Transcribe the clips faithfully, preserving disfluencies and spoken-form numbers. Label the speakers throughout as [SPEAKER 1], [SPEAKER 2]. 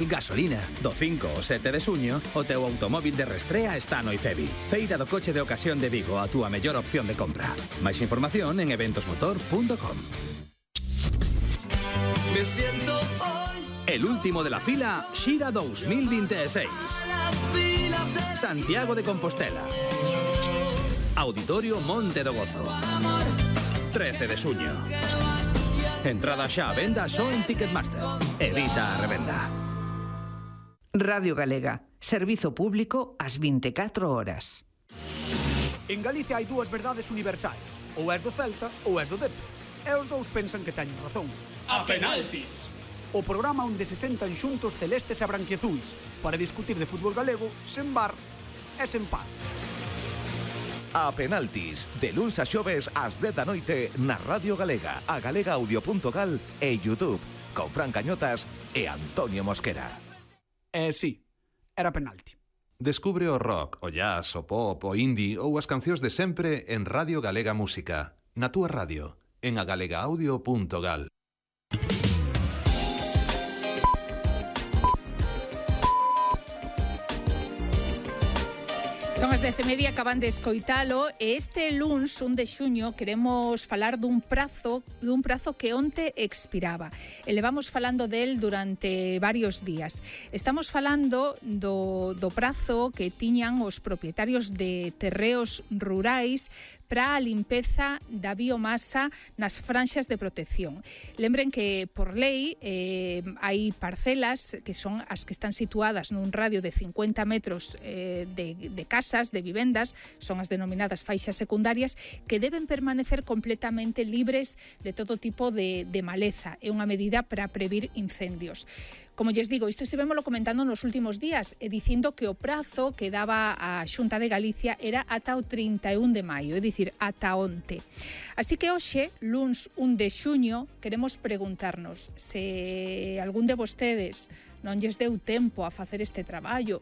[SPEAKER 1] Gasolina. Do cinco ao sete de xuño, o teu automóvil de restrea está no IFEBI. Feira do coche de ocasión de Vigo, a túa mellor opción de compra. Máis información en eventos motor punto com. Me siento hoy. El último de la fila, Xira dos mil veintiséis. Santiago de Compostela. Auditorio Monte do Gozo. trece de xuño. Entrada xa a venda só en Ticketmaster. Evita a revenda.
[SPEAKER 2] Radio Galega, servizo público ás vinte e catro horas.
[SPEAKER 3] En Galicia hai dúas verdades universais. Ou és do Celta ou és do Depor. E os dous pensan que teñen razón.
[SPEAKER 4] A penaltis!
[SPEAKER 3] O programa onde se sentan xuntos celestes e branquiazuis para discutir de fútbol galego sen bar e sen paz.
[SPEAKER 5] A penaltis, de luns a xoves ás dez da noite na Radio Galega, a galega audio punto gal e YouTube, con Fran Cañotas e Antonio Mosquera.
[SPEAKER 3] Eh, sí, era penalti.
[SPEAKER 6] Descubre o rock, o jazz, o pop, o indie ou as cancións de sempre en Radio Galega Música. Na túa radio, en a galega audio punto gal.
[SPEAKER 7] Son as dez e media, acaban de escoitalo e este luns, un de xuño, queremos falar dun prazo dun prazo que onte expiraba. E levamos falando del durante varios días. Estamos falando do, do prazo que tiñan os propietarios de terreos rurais para a limpeza da biomasa nas franxas de protección. Lembren que, por lei, eh, hai parcelas que son as que están situadas nun radio de cincuenta metros eh, de, de casas, de vivendas, son as denominadas faixas secundarias, que deben permanecer completamente libres de todo tipo de, de maleza. É unha medida para previr incendios. Como lles digo, isto estivémolo comentando nos últimos días e dicindo que o prazo que daba a Xunta de Galicia era ata o trinta e un de maio, é dicir, ata onte. Así que hoxe, luns un de xuño, queremos preguntarnos se algún de vostedes non lles deu tempo a facer este traballo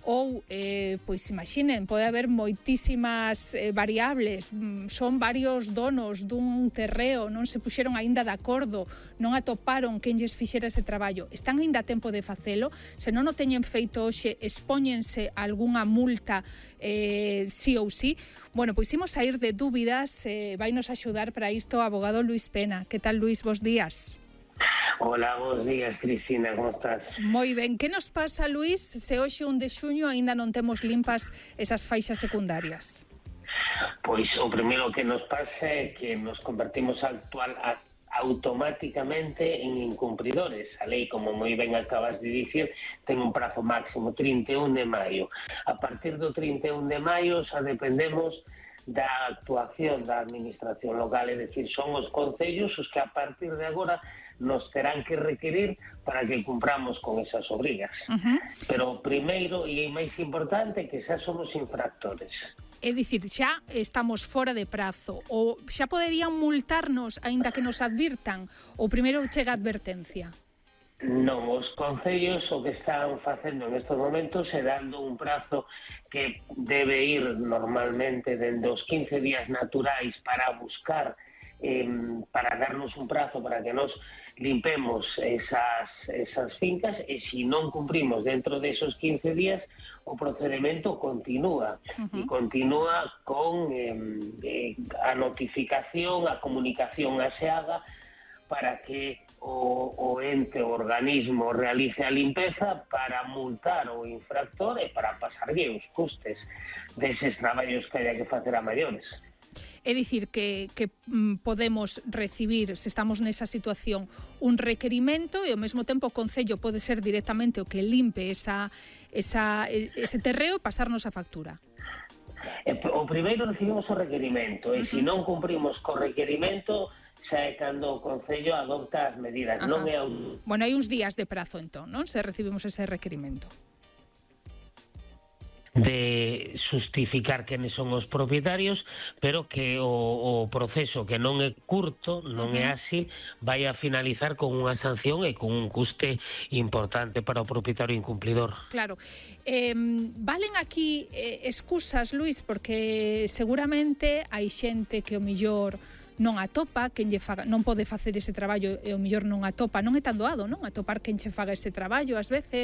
[SPEAKER 7] ou, eh, pois imaginen, pode haber moitísimas eh, variables, son varios donos dun terreo, non se puxeron aínda de acordo, non atoparon quen lles fixera ese traballo, están aínda a tempo de facelo, se non o teñen feito hoxe, expóñense a algunha multa eh, sí ou sí. Bueno, pois imos sair de dúbidas, eh, vainos axudar para isto o abogado Luis Pena. Que tal, Luis? Bos días.
[SPEAKER 8] Hola, bons días, Cristina, como estás?
[SPEAKER 7] Moi ben, que nos pasa, Luis, se hoxe un de xuño aínda non temos limpas esas faixas secundarias?
[SPEAKER 8] Pois o primeiro que nos pasa é que nos convertimos actual a, automáticamente en incumpridores. A lei, como moi ben acabas de dicir, ten un prazo máximo trinta e un de maio. A partir do trinta e un de maio xa dependemos da actuación da administración local, é dicir, son os concellos os que a partir de agora nos terán que requerir para que cumpramos con esas obrigas. Uh-huh. Pero primeiro, e é máis importante, que xa somos infractores.
[SPEAKER 7] É dicir, xa estamos fora de prazo, ou xa poderían multarnos aínda que nos advirtan, ou primeiro chega a advertencia?
[SPEAKER 8] Non, os concellos o que están facendo en estos momentos é dando un prazo que debe ir normalmente dende os quince días naturais para buscar, eh, para darnos un prazo para que nos limpemos esas, esas fincas, e se non cumprimos dentro desos quince días, o procedimento continúa. Uh-huh. E continúa con eh, eh, a notificación, a comunicación aseada para que o, o ente, o organismo realice a limpeza para multar o infractor e para pasarlle os custes deses traballos que haya que facer a maiores.
[SPEAKER 7] É dicir, que, que mm, podemos recibir, se estamos nesa situación, un requerimento e ao mesmo tempo o Concello pode ser directamente o que limpe esa, esa, ese terreo e pasarnos a factura.
[SPEAKER 8] O primeiro recibimos o requerimento e uh-huh. se non cumprimos co requerimento xa é cando o Concello adopta as medidas. Non é un...
[SPEAKER 7] Bueno, hai uns días de prazo entón, non? Se recibimos ese requerimento.
[SPEAKER 8] De justificar quenes son os propietarios, pero que o, o proceso, que non é curto, non é así, vai a finalizar con unha sanción e con un custe importante para o propietario incumplidor.
[SPEAKER 7] Claro. Eh, valen aquí eh, excusas, Luis, porque seguramente hai xente que o millor non atopa, quen lle faga, non pode facer ese traballo e o mellor non atopa, non é tan doado, non? Atopar quen che faga ese traballo ás veces,